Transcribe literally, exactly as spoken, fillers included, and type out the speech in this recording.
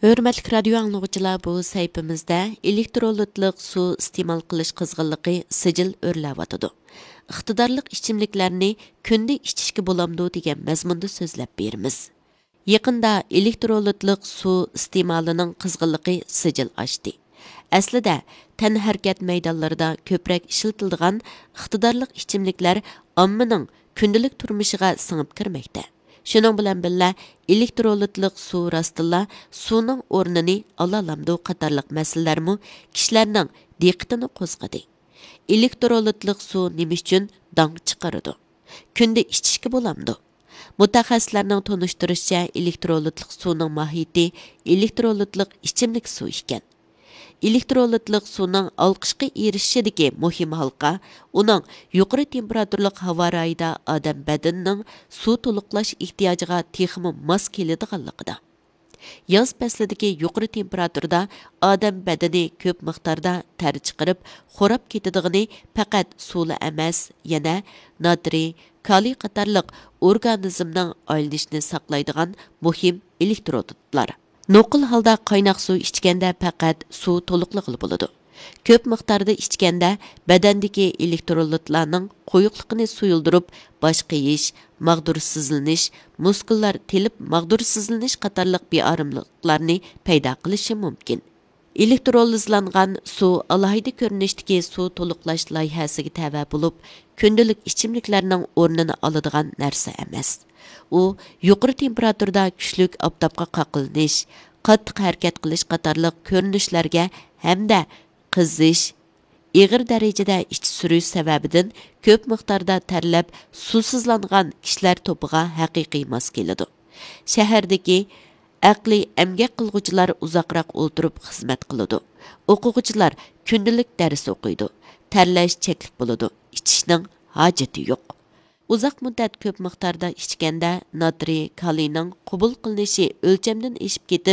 ھۆرمەتلىك رادىيو ئاڭلىغۇچىلار، بۇ سەھىپىمىزدە ئېلېكترولىتلىق سۇ ئىستېمال قىلىش قىزغىنلىقى سىجىل ئۆرلەۋاتىدۇ. ئىقتىدارلىق ئىچىملىكلەرنى كۈندە ئىچىشكە بولامدۇ دېگەن مەزمۇندا سۆزلەپ بېرىمىز. يېقىندا ئېلېكترولىتلىق سۇ ئىستېمالىنىڭ قىزغىنلىقى سىجىل ئاشتى. ئەسلىدە، تەنھەرىكەت مەيدانلىرىدا كۆپرەك ئىشلىتىلىدىغان ئىقتىدارلىق ئىچىملىكلەر ئاممىنىڭ كۈندىلىك تۇرمۇشىغا سىڭىپ كىرمەكتە. شۇنىڭ بىلەن بىللە، ئېلېكترولىتلىق سۇ راستتىنلا سۇنىڭ ئورنىنى ئالالامدۇ قاتارلىق مەسىلىلەرمۇ كىشىلەرنىڭ دىققىتىنى قوزغىدى. ئېلېكترولىتلىق سۇ نېمە ئۈچۈن داڭ چىقىرىدۇ؟ كۈندە ئىچىشكە بولامدۇ؟ مۇتەخەسسىسلەرنىڭ تونۇشتۇرۇشىچە، ئېلېكترولىتلىق سۇنىڭ ماھىيىتى ئېلېكترولىتلىق ئىچىملىك سۇ ئىكەن. ئېلېكترولىتلىق سۇنىڭ ئالقىشقا ئېرىشىشىدىكى مۇھىم ھالقا ئۇنىڭ يۇقىرى تېمپېراتۇرىلىق ھاۋا رايىدا ئادەم بەدىنىنىڭ سۇ تولۇقلاش ئېھتىياجىغا تېخىمۇ ماس كېلىدىغانلىقىدا. ياز پەسلىدىكى يۇقىرى تېمپېراتۇرىدا ئادەم بەدىنى كۆپ مىقداردا تەر چىقىرىپ، خوراپ كېتىدىغىنى پەقەت سۇلا ئەمەس، يەنە ناترىي، كالىي قاتارلىق ئورگانىزمنىڭ ئايلىنىشىنى ساقلايدىغان مۇھىم ئېلېكترولىتلار. نوقۇل ھالدا قايناق سۇ ئىچكەندە پەقەت سۇ تولۇقلىغىلى بولىدۇ. كۆپ مىقداردا ئىچكەندە بەدەندىكى ئېلېكترولىتلارنىڭ قويۇقلۇقىنى سۇيۇلدۇرۇپ، باش قېيىش، ماغدۇرسىزلىنىش، مۇسكۇللار تېلىپ ماغدۇرسىزلىنىش قاتارلىق بىئاراملىقلارنى پەيدا قىلىشى مۇمكىن. ئېلېكترولىزلانغان سۇ ئالاھىدە كۆرۈنۈشتىكى سۇ تولۇقلاش لايىھەسىگە تەۋە بولۇپ، كۈندىلىك ئىچىملىكلەرنىڭ ئورنىنى ئالىدىغان نەرسە ئەمەس. ئۇ يۇقىرى تېمپېراتۇرىدا كۈچلۈك ئاپتاپقا قاقلىنىش، قاتتىق ھەرىكەت قىلىش قاتارلىق كۆرۈنۈشلەرگە ھەمدە قىزىش، ئېغىر دەرىجىدە ئىچى سۈرۈش سەۋەبىدىن كۆپ مىقداردا تەرلەپ سۇسىزلانغان كىشىلەر توپىغا ھەقىقىي ماس كېلىدۇ. شەھەردىكى ئەقلىي ئەمگەك قىلغۇچىلار ئۇزاقراق ئولتۇرۇپ خىزمەت قىلىدۇ. ئوقۇغۇچىلار كۈندىلىك دەرس ئوقۇيدۇ. تەرلەش چەكلىك بولىدۇ. ئىچىشنىڭ ھاجىتى يوق. ئۇزاق مۇددەت كۆپ مىقداردا ئىچكەندە ناترىي كالىينىڭ قوبۇل قىلىنىشى ئۆلچەمدىن ئېشىپ كېتىپ،